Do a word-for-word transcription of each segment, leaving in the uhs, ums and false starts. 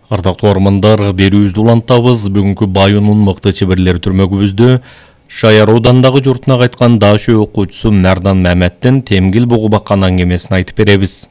Ардактуу армандар, берүүбүздү улантабыз. Бүгүнкү Байонун мыкты чеберлери түрмөгүбүздө Шаяр оодандагы журтуна кайткан дашы окуучусу Мәрдан Маметтин темгил бугу баккан аңгемесин айтып беребиз.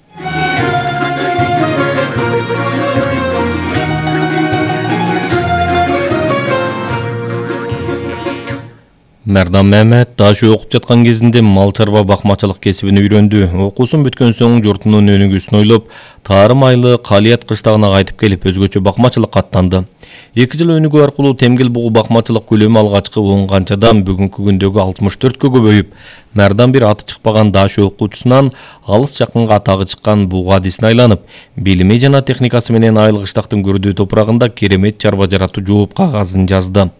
Мәрдан Мамет дашы окуп жаткан кезинде мал чарба бакмачылык кесибин үйрөндү. Окуусун бүткөн соң журтунун өнүгүүсүн ойлоп, Тарым айлы Калият кыштагына кайтып келип, өзгөчө бакмачылыкка аттанды. эки жыл өнүгүү аркылуу темгил бугу бакмачылык көлөмү алгачкы он канчадан бүгүнкү күндөгү алтымыш төрткө көбөйүп, Мәрдан бир аты чыкпаган дашы окуучусунан алыс жакынга атагы чыккан бугу адисине айланып, билими жана техникасы менен Айыл кыштактын көрдүү топурагында керемет чарба жаратуу жооп кагазын жазды.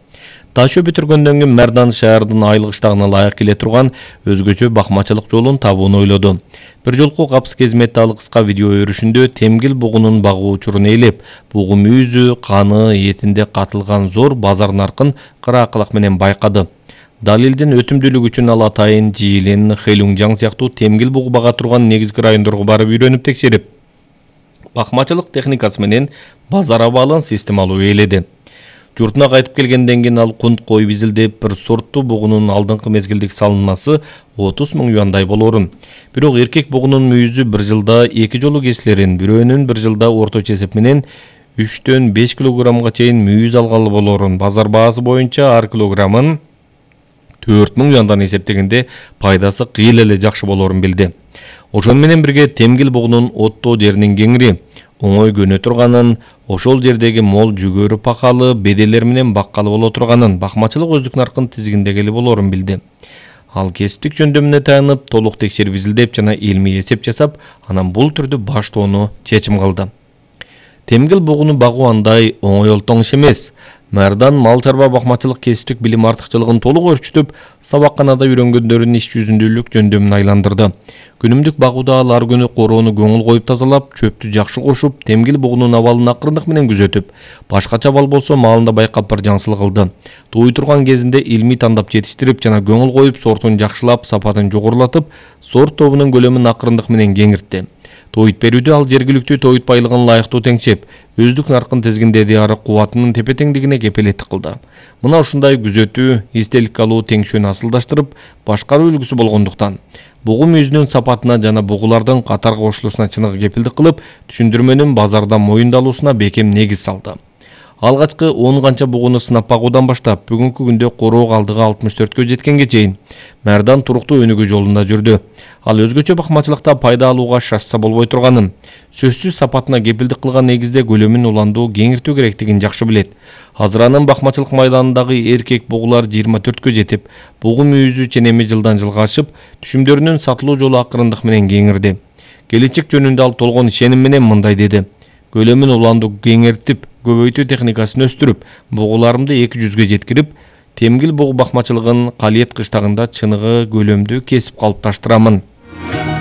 Дашы бүтүргөндөн кийин Мәрдан шаардын Айыл кыштагына ылайык келе турган өзгөчө бакмачылык жолун табууну ойлоду. Бир жолку капыс кезметте ал кыска видео өрүшүндө темгил бугунун багуу учурун ээлеп, бугу мүйүзү, каны, этинде катылган зор базар наркын кыраакылак менен байкады. Далилдин өтүмдүүлүгү үчүн ал Атайын, Жиилен, Хэлюңжаң сыяктуу темгил бугу бага турган негизги райондорго барып үйрөнүп текшерип, бакмачылык техникасы менен базар абалын системалуу ээледи. Журтуна кайтып келгенден кийин ал кунт кой бизилдеп, бир сорттуу бугунун алдыңкы мезгилдик салынмасы отуз миң юандай болорун. Бирок эркек бугунун мүйүзү бир жылда эки жолу кесилерин, бирөөнүн бир жылда орточо эсеп менен үчтөн беш килограммга чейин мүйүз алгалы болорун. Базар баасы боюнча ар килограммын төрт миң юандан эсептегенде пайдасы кыйла эле жакшы болорун билди. Ошону менен бирге темгил бугунун оттоо жеринин кеңири, оңой көнө турганын, ошол жердеги мол жүгөрү пакалы, беделер менен баккалы боло турганын, бакмачылык өздүк наркын тизгиндегели болорун билди. Ал кесиптик жөндөмүнө таянып, толук текшерип изилдеп жана илмий эсеп жасап, анан бул түрдө баштоону чечим кылды. Темгил бугуну багуу андай оңой олтоң иш эмес. Мәрдан мал чарба бакмачылык кесиптик билим артыкчылыгын толук өрчүтүп, сабакканада үйрөнгөндөрүн иш жүзүндүүлүк жөндөмүн айландырды. Күнүмдүк багууда ал ар күнү короону көңүл коюп тазалап, чөптү жакшы кошуп, темгил бугунун абалын акырындык менен күзөтүп, башкача абал болсо маалында байкап бир жаңсылык кылды. Тууй турган кезинде илмий тандап жетиштирип жана көңүл коюп, сортун жакшылап, сапатын жогорулатып, сорт тобунун көлөмүн акырындык менен кеңиртти. Тоyut берүүдө ал жергиликтүү тоyut байлыгын ылайыктуу теңчеп, өздүк наркын тизгиндеди, ары кубатынын тепе-теңдигине кепилеттик кылды. Мына ушундай күзөтүү, эстелик алуу теңшөөнү асылдаштырып, башкаруу үлгүсү болгондуктан бугу мүйүзүнүн сапатына жана бугулардын катарга кошулуусуна чыныгы кепилдик кылып, түшүндүрмөнүн базарда моюндалуусуна бекем негиз салды. Алгачкы он канча бугуну сынап багуудан баштап, бүгүнкү күндө короо калдыгы алтымыш төрткө жеткенге чейин Мәрдан туруктуу өнүгүү жолунда жүрдү. Ал өзгөчө бакмачылыкта пайда алууга шашса болбой турганын, сөзсүз сапатына кепилдик кылган негизде көлөмүн уландуу, кеңиртүү керектигин жакшы билет. Азыр анын бакмачылык майданындагы эркек бугулар жыйырма төрткө жетип, бугу мүйүзү ченеми жылдан жылга ашып, түшүмдөрүнүн сатылуу жолу акырындык менен кеңирди. Келечек жөнүндө ал толгон ишеним менен мындай деди: көлөмүн уландуу кеңиртип, көбөйтүү техникасын өстүрүп, бугуларымды эки жүзгө жеткирип, темгил бугу бакмачылыгын Калиет кыштагында чыныгы көлөмдүү кесип калыпташтырамын.